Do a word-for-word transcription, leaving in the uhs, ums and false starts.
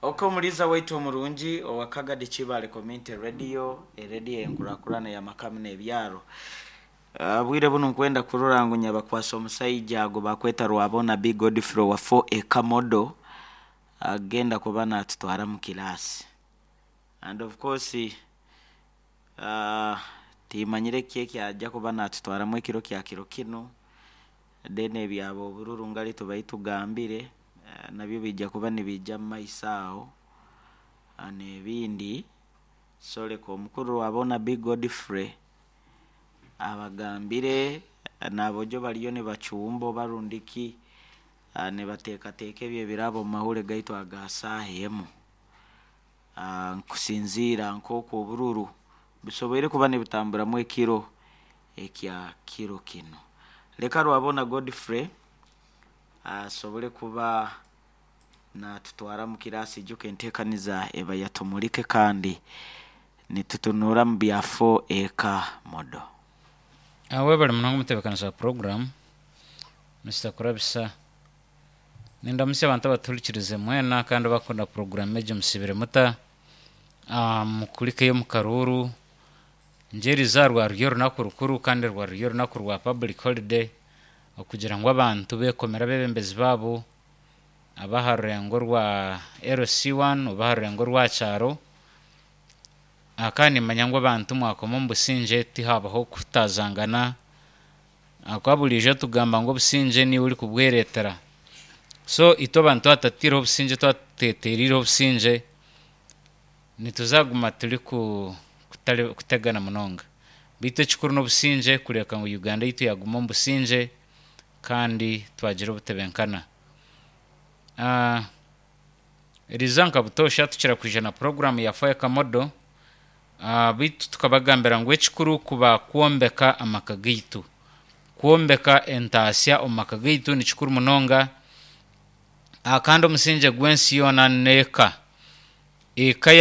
Oko omuliza waitu omurungi owa Kagadi Kibale Community Radio, erediyo enkurakurana y'amakamu n'ebyaro. Uh, bwire buno nkwenda kurora ngu nyabakwasa omusaija ago bakweta Rwabona B Godfrey wa four Ekamodo agenda kuba natutwara mu kilasi, and of course uh, timanyire ki ekyajja kuba natutwaramu ekiro kya kiro kinu. Then ebyabo obururu ngali tubai tugambire, uh, nabyo bijja kuba nibijja mu maiso aho, uh, n'ebindi. So leka omukuru Rwabona B Godfrey abagambire nabojo bariyo nibacumba oba rundiki, uh, nibateekateeka ebyo ebirabo omu mahuri gaitu aga saaha emu, uh, nkusinziira nk'oku obururu bisoboire kuba nibitamburamu ekiro ekya kiro kinu. Leka Rwabona Godfrey asobole kuba natutwara mu kirasi. Ijuka enteekaniza eba yatumulike kandi nitutunura mu bya four eka modo. Webale munonga omutebeekanisa wa program Mister Kurabisa. Nindamutsya abantu abatuhurikirize mwena kandi abakunda program egi. Musibire muta? Ah, mukurikeyo omu karuuru ngyeriza rwari orunaku rukuru kandi rwari orunaku rwa public holiday, okugira ngu abantu bekomera abebembezi baabo abaha rurengo rwa L C one oba aha rurengo rwa kyaro. Ah, kandi nimanya ngu abantu mwakoma omu busingye, tihabaho kutazangana, ahakuba buriijo tugamba ngu obusingye niiwe orikubwereetera. So itwe abantu twatatiireho obusingye, twateteerireho obusingye, nituzaguma turi ku- kutari kutegana munonga. Beitu ekikuru n'obusingye, kureeka ngu Uganda yaitu yaguma omu busingye kandi twagira obutebenkana. Ah, eriza nka butoosha tukira kwija na program ya Fire Kamodo, ah, beitu tukabagambira ngu ekikuru kuba kwombeka amaka gaitu, kwombeka entaasya omu maka gaitu ni kikuru munonga. Ah, kandi omusingye gw'ensi yoona n'eka, eka.